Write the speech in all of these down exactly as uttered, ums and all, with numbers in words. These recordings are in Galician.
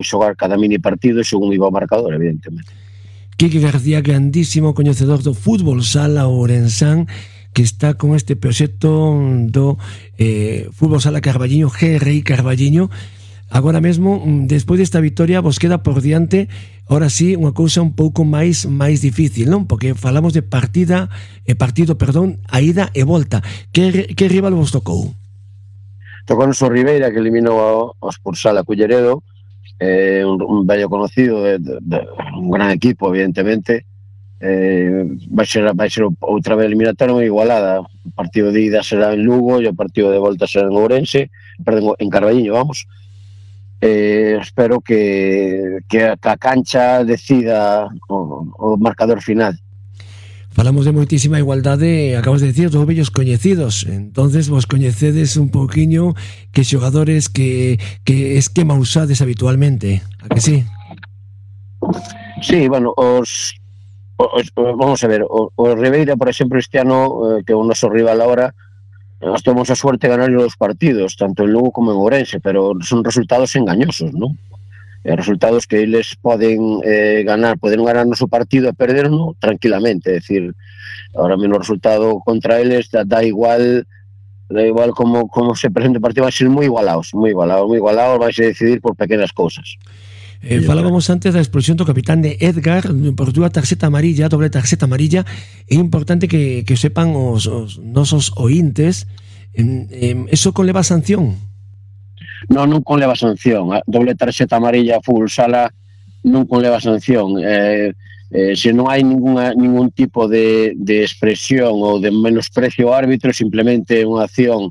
xogar cada mini partido según iba o marcador, evidentemente. Quique García, grandísimo coñecedor do fútbol sala ourensán, que está con este proxecto do eh, fútbol sala Carballiño, G R I Carballiño. Agora mesmo, despois desta victoria, vos queda por diante, ahora sí, unha cousa un pouco máis máis difícil, non? Porque falamos de partida, eh, partido, perdón, a ida e volta. Que, que rival vos tocou? Tocou o Ribeira, que eliminou ao, ao Spursala Culleredo, eh, un, un bello conocido, de, de, de, un gran equipo, evidentemente. Eh, vai ser, vai ser outra vez eliminatoria moi igualada. O partido de ida será en Lugo e o partido de volta será en Ourense, perdón, en Carballiño, vamos. Eh, espero que, que a cancha decida o, o marcador final. Falamos de moitísima igualdade, acabas de decir, dos vellos coñecidos. Entonces vos coñecedes un pouquiño que xogadores que, que esquema usades habitualmente, a que sí? Sí, bueno, os, os vamos a ver, o, o Ribeira, por exemplo, este ano, eh, que é o noso rival ahora, nós temos a suerte de ganar os partidos, tanto en Lugo como en Ourense, pero son resultados engañosos, non? Resultados que eles poden eh, ganar, poden ganar no seu partido e perderno tranquilamente, é dicir, ahora mesmo o resultado contra eles da, da igual da igual como, como se presente o partido, vai ser moi igualados, moi igualados, moi igualados, vai se decidir por pequenas cousas. Eh, falábamos antes da expulsión do capitán de Edgar por dúa tarxeta amarilla, doble tarxeta amarilla. É importante que, que sepan os, os nosos ointes, eh, eh, eso conleva sanción? Non, non conleva sanción. A doble tarxeta amarilla fútbol sala non conleva sanción. Eh, eh, se non hai ninguna, ningún tipo de, de expresión ou de menosprecio ao árbitro, simplemente unha acción,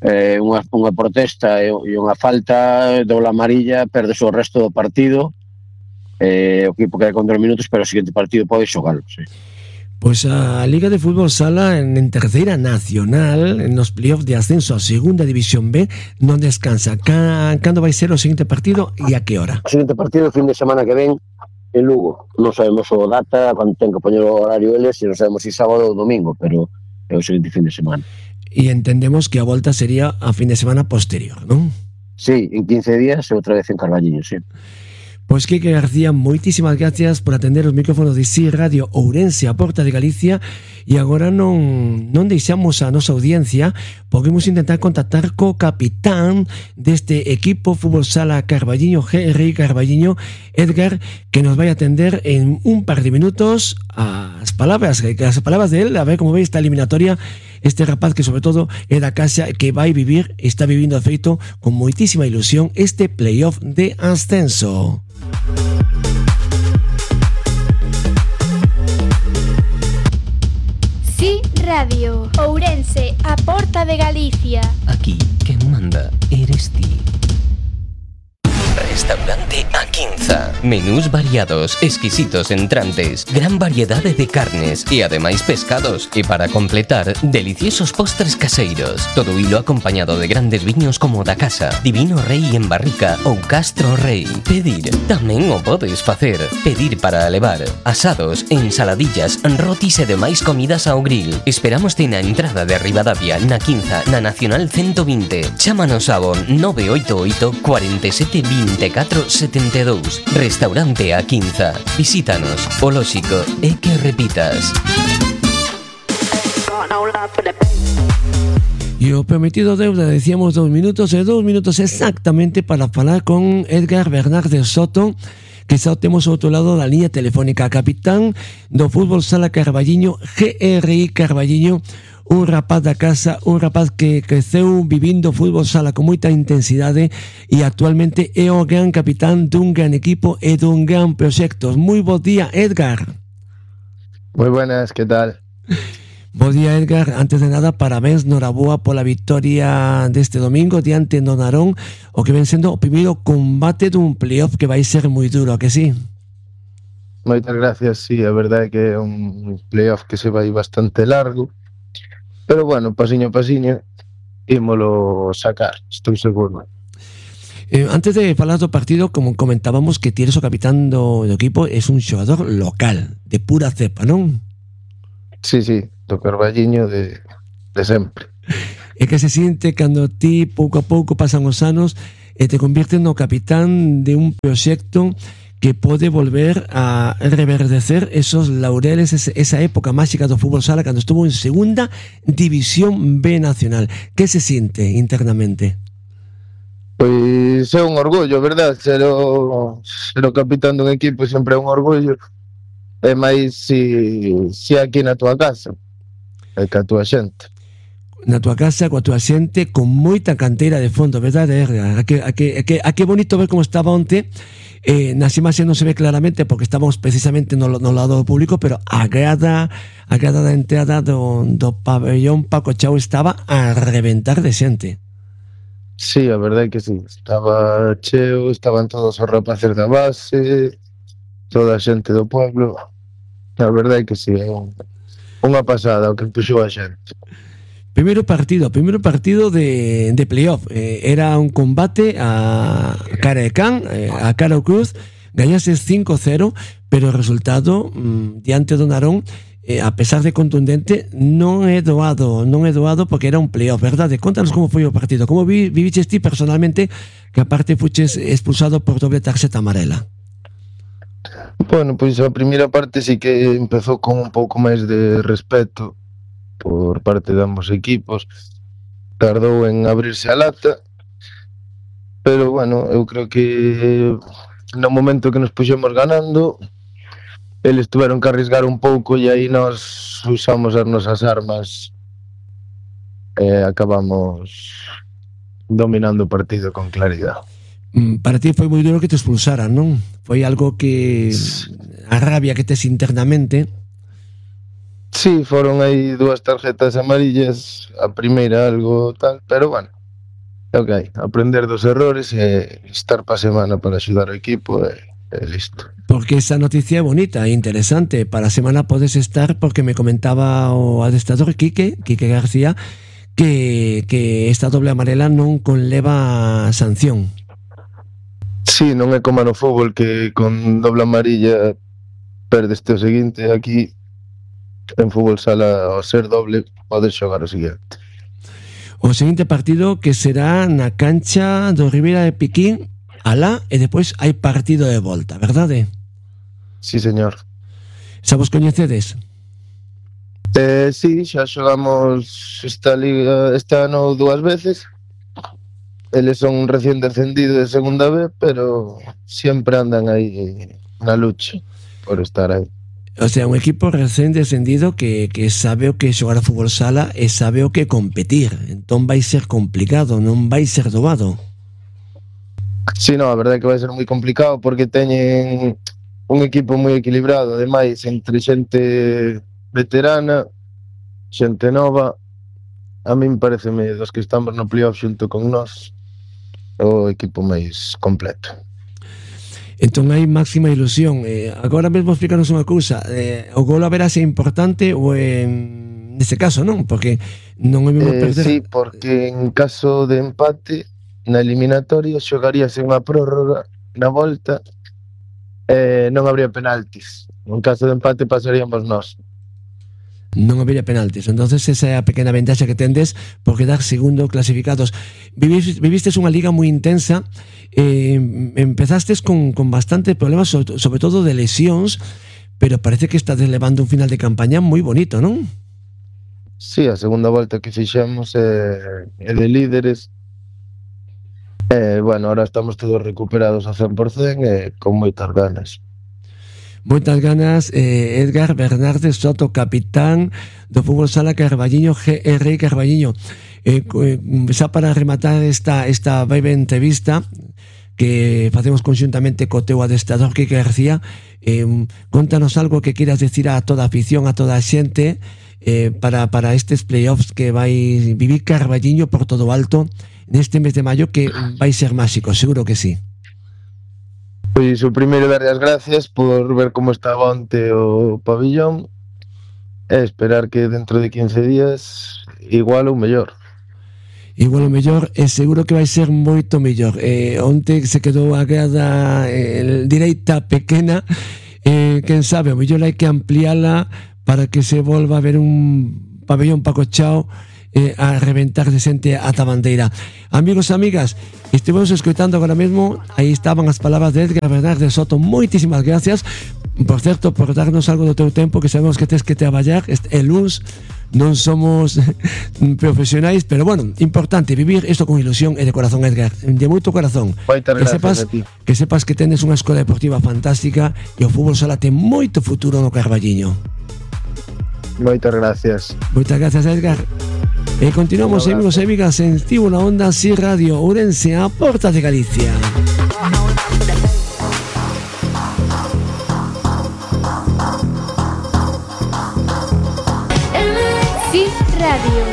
eh, unha, unha protesta e, e unha falta, doble amarilla, perdes o resto do partido, eh, o equipo queda con dos minutos, pero o seguinte partido pode xogalo, sí. Pois a Liga de Fútbol Sala en, en Terceira Nacional, nos playoffs de ascenso a Segunda División B, non descansa. Cando vai ser o seguinte partido e a que hora? O seguinte partido, o fin de semana que ven, en Lugo. Non sabemos o data, cando ten que poñer o horario eles, e non sabemos se sábado ou domingo, pero é o seguinte fin de semana. E entendemos que a volta sería a fin de semana posterior, non? Sí, en quince días e outra vez en Carballiño, sí. Pois Quique García, moitísimas gracias por atender os micrófonos de Si Radio Ourense, a Porta de Galicia, e agora non, non deixamos a nosa audiencia, podemos intentar contactar co capitán deste equipo Fútbol Sala Carballiño, G R I Carballiño, Edgar, que nos vai atender en un par de minutos as palabras, as palabras de él, a ver como ve esta eliminatoria, este rapaz que sobre todo é da casa, que vai vivir, está vivindo de feito con moitísima ilusión este playoff de ascenso. Si Radio Ourense, a Porta de Galicia. Aquí quen manda eres ti. Restaurante A Quinza. Menús variados, exquisitos entrantes, gran variedade de carnes e ademais pescados. E para completar, deliciosos postres caseiros. Todo hilo acompañado de grandes viños como da casa, Divino Rei en barrica ou Castro Rei. Pedir tamén o podes facer. Pedir para levar asados, ensaladillas, rotis e demais comidas ao grill. Esperámoste na entrada de Ribadavia, na Quinza, na Nacional ciento vinte. Chámanos ao nove oito oito, cuatro sete, veinticuatro setenta e dous. Restaurante A Quinza. Visítanos. O lóxico é que repitas. E o prometido deuda, decíamos dos minutos e dos minutos exactamente para falar con Edgar Bernardes Soto, que xa temos ao outro lado da liña telefónica, capitán do Fútbol Sala Carballiño, G R I Carballiño, un rapaz da casa, un rapaz que creceu vivindo fútbol sala con moita intensidade e actualmente é o gran capitán dun gran equipo e dun gran proxecto. Moi bo día, Edgar. Moi buenas, que tal? Bo día, Edgar. Antes de nada, parabéns, noraboa pola victoria deste domingo diante do Narón, o que ven sendo o primeiro combate dun playoff que vai ser moi duro, que sí? Moitas gracias, sí, a verdade é que é un playoff que se vai bastante largo, pero bueno, pasiño a pasiño ímolo sacar, estou seguro. Eh, antes de falar do partido, como comentábamos, que ti eres o capitán do, do equipo, es un xogador local, de pura cepa, non? Sí, sí, do Carballiño de, de sempre. É que se siente cando ti pouco a pouco pasan os anos e te conviertes no capitán de un proxecto que pode volver a reverdecer esos laureles, esa época máxica do fútbol sala cando estuvo en segunda división B nacional. Que se siente internamente? Pois é un orgullo, verdad? Ser o, ser o capitán dun equipo sempre é un orgullo. E máis si, si aquí na tua casa e ca tua xente. Na tua casa, coa tua xente, con moita canteira de fondo, verdade? A que, a que, a que, a que bonito ver como estaba onte. Eh, nas imaxes non se ve claramente porque estamos precisamente no, no lado público, pero a grada a grada da entrada do, do pabellón Paco Chao estaba a reventar de xente. Sí, a verdade é que sí, estaba cheo, estaban todos os rapaces da base, toda a xente do pueblo. A verdade é que sí, é un, unha pasada o que puxou a xente. Primeiro partido, primeiro partido de, de playoff. Eh, era un combate a cara de can, eh, a cara o cruz. Gañases cinco cero, pero o resultado mmm, diante do Narón, eh, a pesar de contundente, non é doado, non é doado porque era un playoff, verdade? Contanos como foi o partido, como vi, viviches ti personalmente, que aparte fuches expulsado por doble tarxeta amarela. Bueno, pois a primeira parte sí que empezou con un pouco máis de respeto por parte de ambos equipos, tardou en abrirse a lata, pero bueno, eu creo que no momento que nos puxemos ganando, eles tuveron que arrisgar un pouco e aí nós usamos as nosas armas e acabamos dominando o partido con claridade. Para ti foi moi duro que te expulsaran, non? Foi algo que a rabia que tes internamente. Sí, foron aí dúas tarjetas amarillas, a primeira algo tal, pero bueno, é o que hai, aprender dos errores e estar pa semana para axudar o equipo e, e listo. Porque esa noticia é bonita e interesante, para a semana podes estar, porque me comentaba o adestrador Quique, Quique García, que, que esta doble amarela non conleva sanción. Sí, non é como no fútbol que con doble amarilla perdes o seguinte, aquí en fútbol sala ao ser doble podes xogar o seguinte. O seguinte partido que será na cancha do Ribeira de Piquín, alá, e depois hai partido de volta, verdade? Sí, señor. Xa vos coñecedes? Eh, sí, xa xogamos esta liga este ano dúas veces. Eles son recién descendidos de segunda B, pero sempre andan aí na lucha por estar aí. O sea, un equipo recén descendido que, que sabe o que xogar a fútbol sala e sabe o que competir. Entón vai ser complicado, non vai ser doado. Sí, no, a verdade é que vai ser moi complicado porque teñen un equipo moi equilibrado, ademais, entre xente veterana, xente nova. A min pareceme dos que estamos no playoff xunto con nós o equipo máis completo. Entón hai máxima ilusión. Eh, agora mesmo explicanos unha cousa. Eh, o gol haberá ser importante ou en neste caso non? Porque non é mesmo eh, perder. Sí, porque en caso de empate na eliminatoria xogaríase unha prórroga na volta e eh, non habría penaltis. En caso de empate pasaríamos nós. Non habería penaltis. Entonces esa é a pequena ventaxa que tendes por quedar segundo clasificados. Vivistes, vivistes unha liga moi intensa, eh, empezastes con, con bastante problemas, sobre, sobre todo de lesións, pero parece que estás levando un final de campaña moi bonito, non? Sí, a segunda volta que fixemos é, é de líderes. Eh, bueno, ahora estamos todos recuperados ao cen por cen e con moitas ganas. Moitas ganas, eh, Edgar Bernardes Soto, capitán do fútbol sala Carballiño, G R Carballiño. Eh, eh, xa para rematar esta, esta breve entrevista que facemos conxuntamente co teu adestrador Quique García, eh, contanos algo que quieras decir a toda a afición, a toda a xente eh, para, para estes playoffs que vai vivir Carballiño por todo alto neste mes de maio, que vai ser máxico, seguro que sí. Pois o primeiro darlle as gracias por ver como estaba onte o pabillón e esperar que dentro de quince días igual ou mellor. Igual ou mellor, e seguro que vai ser moito mellor. Eh, onte se quedou a grada eh, direita pequena, eh, quen sabe, o mellor hai que ampliala para que se volva a ver un pabellón Paco Chao eh, a reventar de xente ata bandeira. Amigos e amigas, estivemos escoitando agora mesmo, aí estaban as palabras de Edgar Bernardes Soto. Moitísimas gracias, por certo, por darnos algo do teu tempo, que sabemos que tes que traballar este é luns, non somos profesionais, pero bueno, importante vivir isto con ilusión e de corazón, Edgar, de moito corazón. Moitas Que gracias sepas, a ti. que sepas que tenes unha escola deportiva fantástica e o fútbol sala ten moito futuro no Carballiño. Moitas gracias. Moitas gracias, Edgar. E continuamos, amigos e amigas, en Tivo na Onda, Si Radio Ourense, a porta de Galicia. Si Radio.